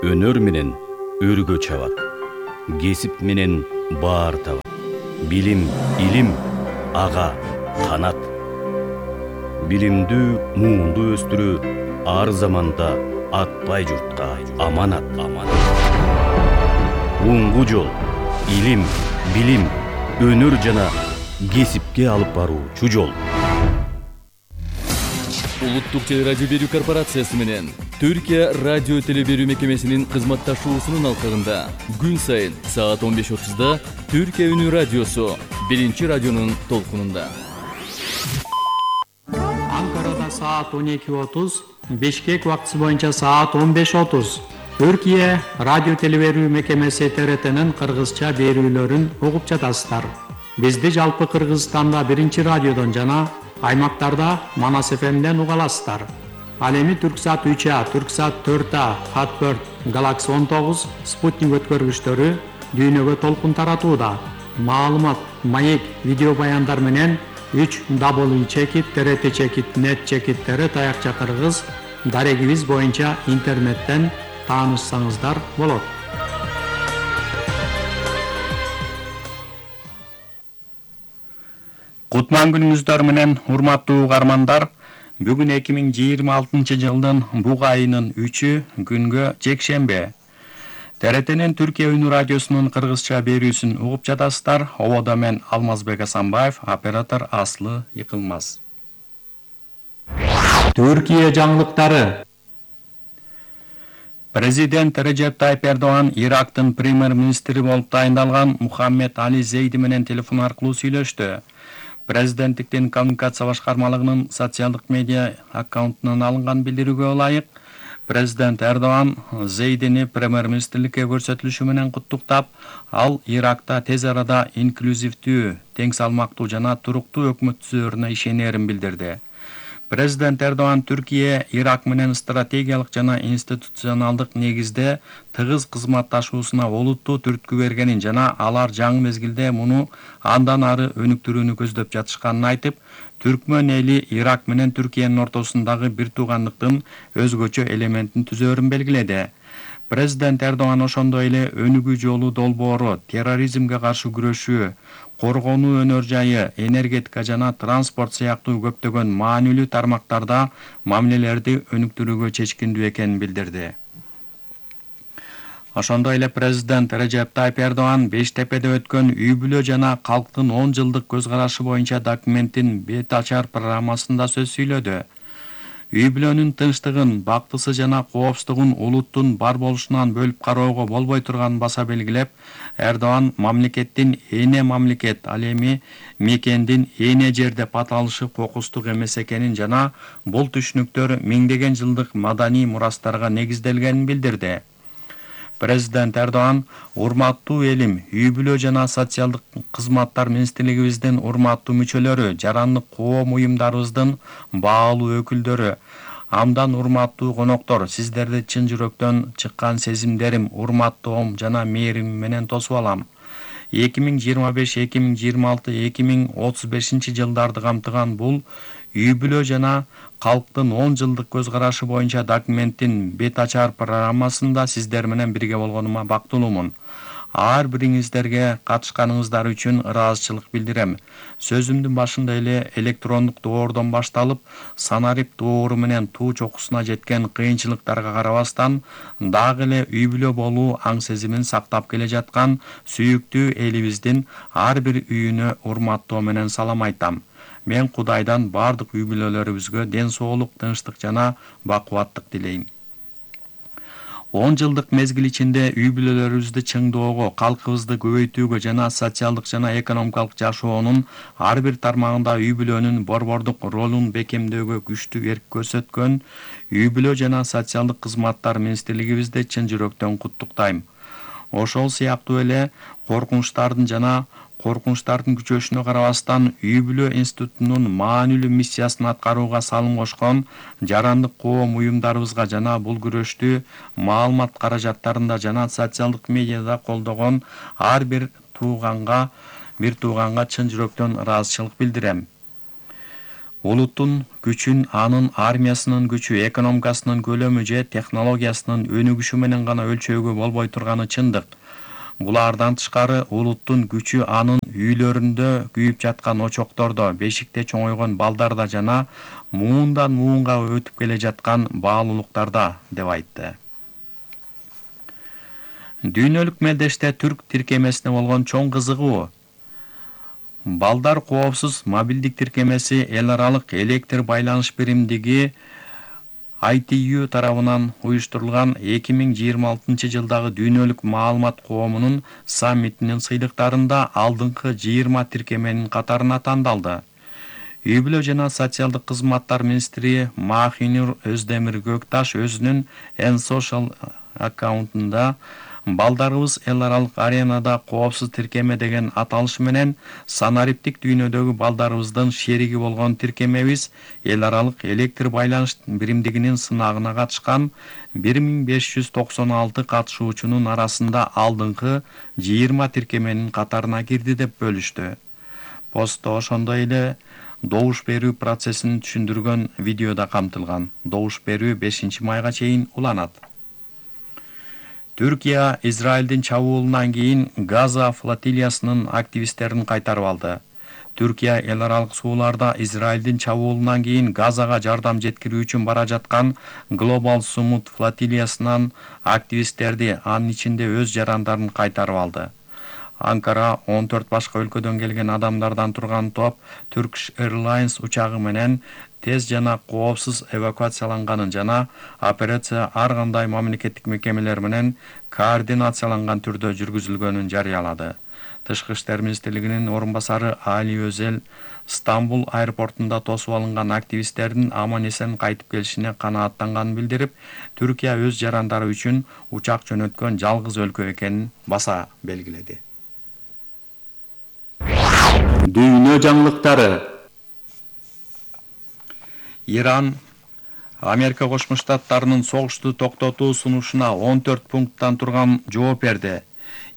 өнөр менен өргө чабат, кесип менен баар табат. Билим, илим ага канат. Билимдүү, муунду өстүрүү ар заманда атпай журтка аманат. Оңгу жол, илим, билим, өнөр жана кесипке алып баруучу жол. Улуттук телерадио берүү корпорациясы менен Түркия радио теле берүү мекемесинин кызматташуусунун алкагында күн сайын саат 15:30 Түркия үнү радиосу биринчи радионун толкунунда. Анкарада саат 12:30, Бишкек убактысы боюнча саат 15:30. Түркия радио теле берүү мекемеси ТРТнын кыргызча берүүлөрүн угуп жатасыздар. Бизди жалпы Кыргызстанда биринчи радиодон жана аймактарда Манас ФМден уга аласыздар. Ал эми Түрксат 3А, Түрксат 4А, Хат4, Галакси 19, Спутник өткөргүчтөрү дүйнөгө толкун таратууда. Маалымат, маек, видео баяндар менен 3W TRT-net чекиттери таякча кыргыз дарегибиз боюнча интернеттен таанышсаңыздар болот. Кутман күнүңүздөр менен урматтуу угармандар, бүгүн 2026 жылдын буга айынын 3 күнгө жекшембе. ТРТнин Түркия үнү радиосунун кыргызча берүүсүн угуп жатасыздар. Ободо мен Алмазбек Асанбаев, оператор Аслы Йыкылмаз. Түркия жаңылыктары. Президент Режеп Тайип Эрдоган Ирактын премьер-министри болуп тайындалган Мухаммед Али Зейди менен телефон аркылуу сүйлөштү. Президенттиктин коммуникация башкармалыгынын социалдык медиа аккаунтунан алынган билдирүүгө ылайык, президент Эрдоган Зейдини премьер-министрликке көрсөтүлүшү менен куттуктап, ал Иракта тез арада инклюзивдүү, тең салмактуу жана туруктуу өкмөт түзөөрүнө ишенерин билдирди. Президент Эрдоган Түркия Ирак менен стратегиялык жана институционалдык негизде тыгыз кызматташуусуна олуттуу түрткү бергенин жана алар жаңы мезгилде муну андан ары өнүктүрүүнү көздөп жатышканын айтып, түркмөн эли Ирак менен Түркиянын ортосундагы бир туугандыктын өзгөчө элементин түзөөрүн белгиледи. Президент Эрдоган ошондой эле өнүгүү жолу долбоору, терроризмге каршы күрөшүү, коргонуу өнөр жайы, энергетика жана транспорт сыяктуу көптөгөн маанилүү тармактарда мамилелерди өнүктүрүүгө чечкиндүү экенин билдирди. Ошондой эле президент Режеп Тайип Эрдоган Бештепеде өткөн үй бүлө жана калктын 10 жылдык көз карашы боюнча документтин бет ачар программасында сөз сүйлөдү. Үй бүлөнүн тынчтыгын, бактысы жана коопсуздугун улуттун бар болушунан бөлүп кароого болбой турганын баса белгилеп, Эрдоган мамлекеттин эне мамлекет, ал эми мекендин эне жер деп аталышы кокустук эмес экенин жана бул түшүнүктөр миңдеген жылдык маданий мурастарга негизделгенин билдирди. Президент Эрдоган, урматтуу элим, үй бүлө жана социалдык кызматтар министрлигибиздин урматтуу мүчөлөрү, жарандык коом уюмдарыбыздын баалуу өкүлдөрү, амдан урматтуу коноктор, сиздерди чын жүрөктөн чыккан сезимдерим, урматтоом жана мээрим менен тосуп алам. 2025, 2026, 2035 жылдарды камтыган бул үй бүлө жана калктын 10 жылдык көз карашы боюнча документтин бет ачар программасында сиздер менен бирге болгонума бактылуумун. Ар бириңиздерге катышканыңыздар үчүн ыраазычылык билдирем. Сөзүмдүн башында эле электрондук доордон башталып, санарип доору менен туу чокусуна жеткен кыйынчылыктарга карабастан, дагы эле үй бүлө болуу аң сезимин сактап келе жаткан сүйүктүү элибиздин ар бир үйүнө урматтоо менен салам айтам. Мен Кудайдан бардык үй бүлөлөрүбүзгө ден соолук, тынчтык жана бакубаттык дилейм. 10 жылдык мезгил ичинде үй бүлөлөрүбүздү чыңдоого, калкыбызды көбөйтүүгө жана социалдык жана экономикалык жашоонун ар бир тармагында үй бүлөнүн борбордук ролун бекемдөөгө күчтүү эрк көрсөткөн үй бүлө жана социалдык кызматтар министрлигибизди чын жүрөктөн куттуктайм. Ошол сыяктуу эле коркунучтардын күчөшүнө карабастан үй бүлө институтунун маанилүү миссиясын аткарууга салым кошкон жарандык коом уюмдарыбызга жана бул күрөштү маалымат каражаттарында жана социалдык медиада колдогон ар бир тууганга чын жүрөктөн ыраазычылык билдирем. улуттун күчүн анын армиясынын күчү, экономикасынын көлөмү же технологиясынын өнүгүшү менен гана өлчөөгө болбой турганы чындык. Булардан тышкары улуттун күчү анын үйлөрүндө күйүп жаткан очоктордо, бешикте чоңойгон балдарда жана муундан муунга өтүп келе жаткан баалуулуктарда, деп айтты. Дүйнөлүк мелдеште түрк тиркемесине болгон чоң кызыгуу. Балдар коопсуз мобилдик тиркемеси эл аралык электр байланыш биримдиги ITU тарабынан уюштурулган 2026 жылдагы дүйнөлүк маалымат коомунун саммитинин сыйлыктарында алдыңкы 20 тиркеменин катарына тандалды. Үй-бүлө жана социалдык кызматтар министри Махинур Өздемир Көкташ өзүнүн Social аккаунтунда балдарыбыз эл аралык аренада коопсуз тиркеме деген аталыш менен санариптик дүйнөдөгү балдарыбыздын шериги болгон тиркемебиз эл аралык электр байланыш биримдигинин сынагына катышкан 1596 катышуучунун арасында алдыңкы 20 тиркеменин катарына кирди деп бөлүштү. Постто ошондой эле добуш берүү процессин түшүндүргөн видеода камтылган. Добуш берүү 5 майга чейин уланат. Түркия Израилдин чабуулунан кийин Газа флотилиясынын активисттерин кайтарып алды. Түркия эл аралык сууларда Израилдин чабуулунан кийин Газага жардам жеткирүү үчүн бара жаткан Global Summit флотилиясынан активисттерди, анын ичинде өз жарандарын кайтарып алды. Анкара 14 башка өлкөдөн келген адамдардан турган топ Turkish Airlines учагы менен тез жана коопсуз эвакуацияланганын жана операция ар кандай мамлекеттик мекемелер менен координацияланган түрдө жүргүзүлгөнүн жарыялады. Тышкы иштер министрлигинин орун басары Али Өзел Стамбул аэропортунда тосуп алынган активисттердин аман-эсен кайтып келишине канааттанганын билдирип, Түркия өз жарандары үчүн учак жөнөткөн жалгыз өлкө экенин баса белгиледи. Дүйнө жаңылыктары. Иран Америка Кошмо Штаттарынын согушту токтотуу сунушуна 14 пункттан турган жооп берди.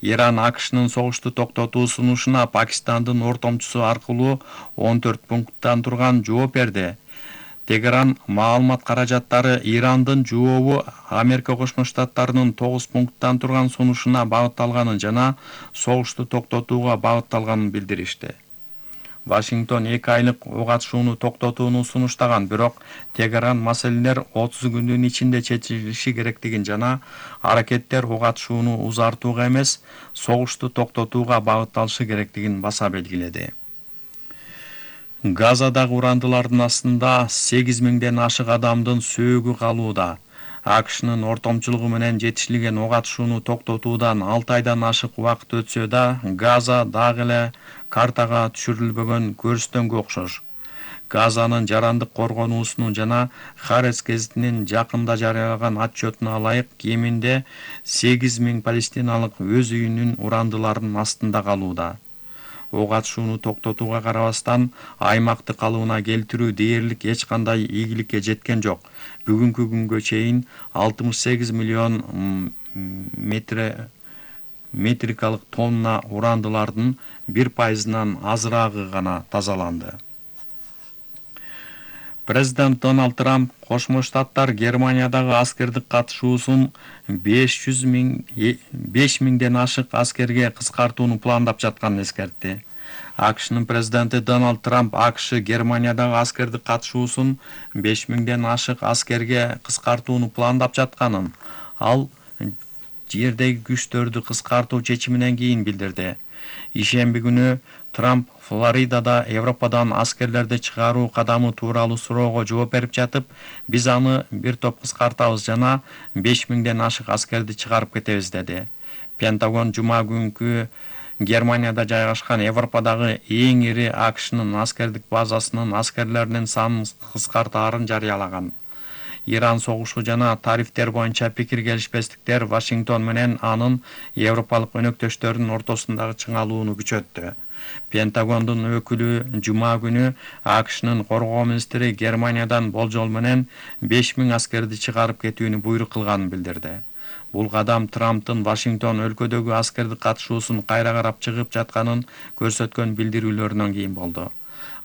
Иран АКШнын согушту токтотуу сунушуна Пакистандын ортомчусу аркылуу 14 пункттан турган жооп берди. Тегеран маалымат каражаттары Ирандын жообу Америка Кошмо Штаттарынын 9 пункттан турган сунушуна багытталганын жана согушту токтотууга багытталганын билдиришти. Вашингтон 2 айлык ок атышууну токтотууну сунуштаган, бирок Тегеран маселелер 30 күндүн ичинде чечилиши керектигин жана аракеттер ок атышууну узартууга эмес, согушту токтотууга багытталышы керектигин баса белгиледи. Газадагы урандылардын астында 8000ден ашык адамдын сөөгү калууда. АКШнын ортомчулугу менен жетишилген ок атышууну токтотуудан 6 айдан ашык убакыт өтсө да, Газа дагы эле картага түшүрүлбөгөн көрүстөнгө окшош. Газанын жарандык коргонуусунун жана Харец гезитинин жакында жарыялаган отчетуна ылайык, кеминде 8000 палестиналык өз үйүнүн урандыларынын астында калууда. Ок атышууну токтотууга карабастан, аймакты калыбына келтирүү дээрлик эч кандай ийгиликке жеткен жок. Бүгүнкү күнгө чейин 68 миллион метрикалык тонна урандылардын 1%-нан азыраагы гана тазаланды. Президент Дональд Трамп Кошмо Штаттар Германиядагы аскердик катышуусун 5000ден ашык аскерге кыскартууну пландап жатканын эскертти. АКШнын президенти Дональд Трамп АКШ Германиядагы аскердик катышуусун 5000ден ашык аскерге кыскартууну пландап жатканын, ал жердеги күчтөрдү кыскартуу чечиминен кийин билдирди. Ишемби күнү Трамп Флоридада Европадан аскерлерди чыгаруу кадамы тууралуу суроого жооп берип жатып, биз аны бир топ кыскартабыз жана 5000ден ашык аскерди чыгарып кетебиз деди. Пентагон жума күнкү Германияда жайгашкан Европадагы эң ири АКШнын аскердик базасынын аскерлеринин санын кыскартаарын жарыялаган. Иран согушу жана тарифтер боюнча пикир келишпестиктер Вашингтон менен анын европалык өнөктөштөрүнүн ортосундагы чыңалууну күчөттү. Пентагондун өкүлү жума күнү АКШнын коргоо министри Германиядан болжол менен 5000 аскерди чыгарып кетүүнү буйрук кылганын билдирди. Бул кадам Трамптын Вашингтон өлкөдөгү аскердик катышуусун кайра карап чыгып жатканын көрсөткөн билдирүүлөрүнөн кийин болду.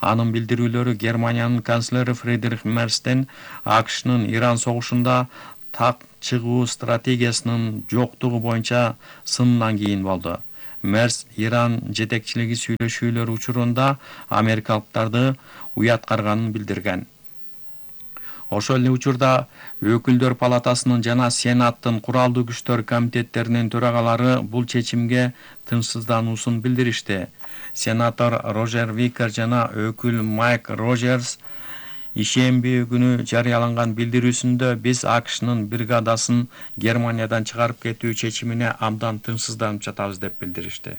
Анын билдирүүлөрү Германиянын канцлери Фридрих Мерстен АКШнын Иран согушунда так чыгуу стратегиясынын жоктугу боюнча сынынан кийин болду. Мерс Иран жетекчилиги сүйлөшүүлөр учурунда америкалыктарды уяткарганын билдирген. Ошол эле учурда Өкүлдөр палатасынын жана Сенаттын куралдуу күчтөр комитеттеринин төрагалары бул чечимге тынчсыздануусун билдиришти. Сенатор Рожер Викер жана өкүл Майк Роджерс ишемби күнү жарыяланган билдирүүсүндө биз АКШнын бригадасын Германиядан чыгарып кетүү чечимине абдан тынчсызданып жатабыз деп билдиришти.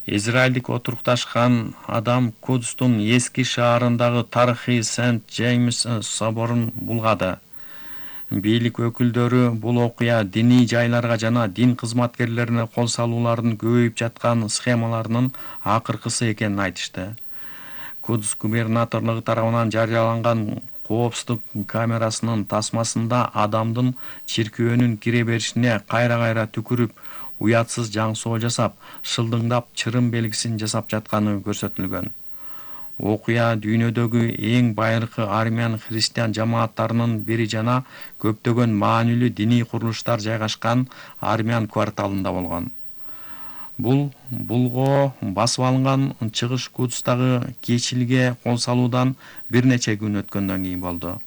Израилдик отурукташкан адам Кудустун эски шаарындагы тарыхый Сент-Джеймс соборун булгады. Бийлик өкүлдөрү бул окуя диний жайларга жана дин кызматкерлерине кол салуулардын көбөйүп жаткан схемаларынын акыркысы экенин айтышты. Кудус губернаторлугу тарабынан жарыяланган коопсуздук камерасынын тасмасында адамдын чиркөөнүн кире беришине кайра-кайра түкүрүп, уятсыз жаңсоо жасап, шылдыңдап чырым белгисин жасап жатканы көрсөтүлгөн. Окуя дүйнөдөгү эң байыркы армян христиан жамааттарынын бири жана көптөгөн маанилүү диний курулуштар жайгашкан армян кварталында болгон. Бул булго басып алынган чыгыш Кудустагы кечилге кол салуудан бир нече күн өткөндөн кийин болду.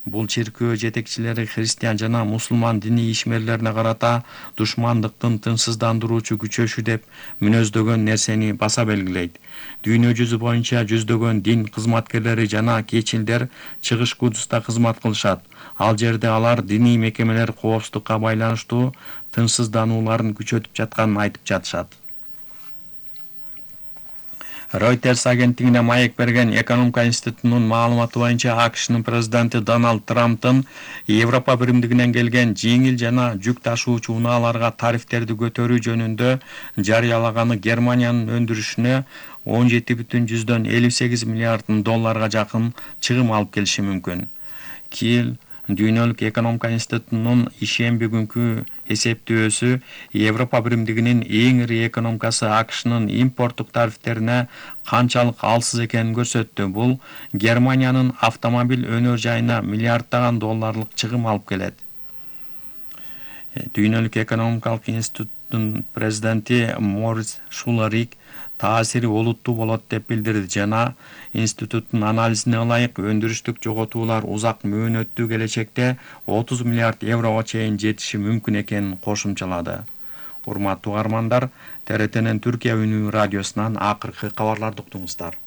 Бул чиркөө жетекчилери христиан жана мусулман диний ишмерлерине карата душмандыктын тынчсыздандыруучу күчөшү деп мүнөздөгөн нерсени баса белгилейт. Дүйнө жүзү боюнча жүздөгөн дин кызматкерлери жана кечилдер чыгыш Кудуста кызмат кылышат. Ал жерде алар диний мекемелер коопсуздукка байланыштуу тынчсызданууларын күчөтүп жатканын айтып жатышат. Reuters агенттигине маек берген Экономика институтунун маалыматы боюнча АКШнын президенти Дональд Трамптын Европа биримдигинен келген жеңил жана жүк ташуучу унааларга тарифтерди көтөрүү жөнүндө жарыялаганы Германиянын өндүрүшүнө 17,58 миллиард долларга жакын чыгым алып келиши мүмкүн. Киел Дүйнөлүк экономика институтунун ишемби күнкү эсептөөсү Европа биримдигинин эң ири экономикасы АКШнын импорттук тарифтерине канчалык алсыз экенин көрсөттү. Бул Германиянын автомобиль өнөр жайына миллиарддаган долларлык чыгым алып келет. Дүйнөлүк экономикалык институттун президенти Морис Шуларик таасири олуттуу болот деп билдирди жана институттун анализине ылайык өндүрүштүк жоготуулар узак мөөнөттүү келечекте 30 миллиард еврого чейин жетиши мүмкүн экенин кошумчалады. Урматтуу угармандар, ТРТнин Түркия үнү радиосунан акыркы кабарларды уктуңуздар.